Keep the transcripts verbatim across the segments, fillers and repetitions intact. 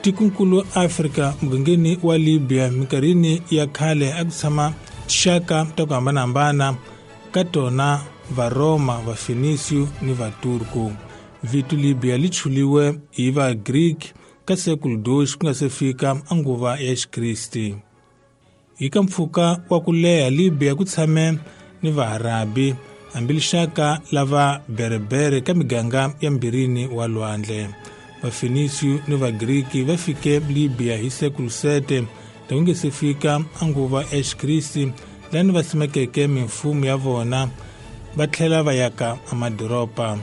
Tikonkulu Afrika mugangeni wa Libya minkarhini ya khale a ku tshama tinxaka ta ku hambanahambana ka tona Varoma, Vafenisiyo ni Vaturku. Vito Libya li chuliwe hi Vagriki ka sekulu dois ku nga se fika a nguva ya Xikriste. Hi ka mpfhuka wa ku leha Libya ku tshame ni Vaarabi hambi lixaka la va Berbere ka miganga ya mbirini wa lwandle. Vafenisiyo ni Vagriki va fike Libya hi sekulu sete ta ku nge se fika a nguva ya Xikriste, lani va simekeke mimfumo ya vona va tlhela va yaka amadoropa.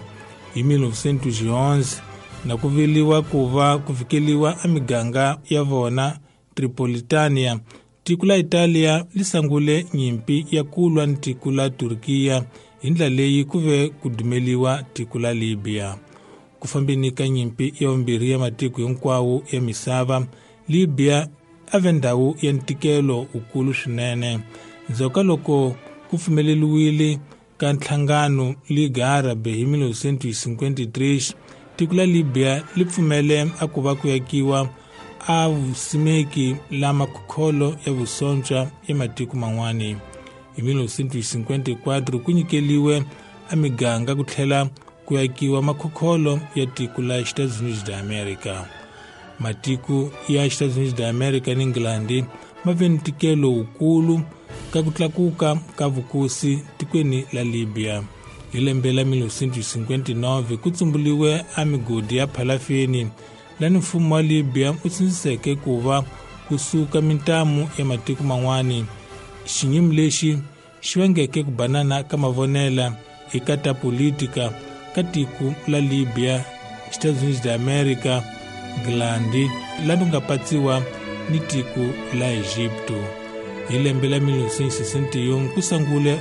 Hi mil novecentos e onze na ku viliwa ku va ku fikeliwa a miganga ya vona Tripolitania, tiko la Italia li sangule nyimpi ya ku lwa ni tiko la Turkiya hi ndlela leyi ku ve ku dumeliwa tiko la Libya. Ku fambeni ka nyimpi ya vumbirhi ya matiko hinkwawo ya misava, Libya a ve ndhawu ya ntikelo wukulu swinene. Ndzhaku ka loko ku pfumeleriwile ka nhlangano Liga Árabe hi mil novecentos e cinquenta e três, tiko la Libya li pfumele a ku va ku yakiwa a vusimeki la makhokholo ya vusontswa ya matiko man'wani. Hi mil novecentos e cinquenta e quatro ku nyikeliwe a miganga ku tlhela ku yakiwa makhokholo ya tiko la Estados Unidos da América. Matiko ya Estados Unidos da América ni England ma ve ni ntikelo wukulu ka ku tlakuka ka vukosi tikweni la Libya. Hi lembe la mil novecentos e cinquenta e nove ku tsumbuliwe a migodi ya phalafeni lani mfumo wa Libya wu sindziseke ku va kusuka mintamu ya matiko man'wani. Xinyimu lexi xi vangeke ku banana ka mavonela eka ta politika ka tiko la Libya, Estados Unidos da América, England lani ku nga patsiwa ni tiko la Egipto. Hi lembe la mil novecentos e sessenta e um ku sungule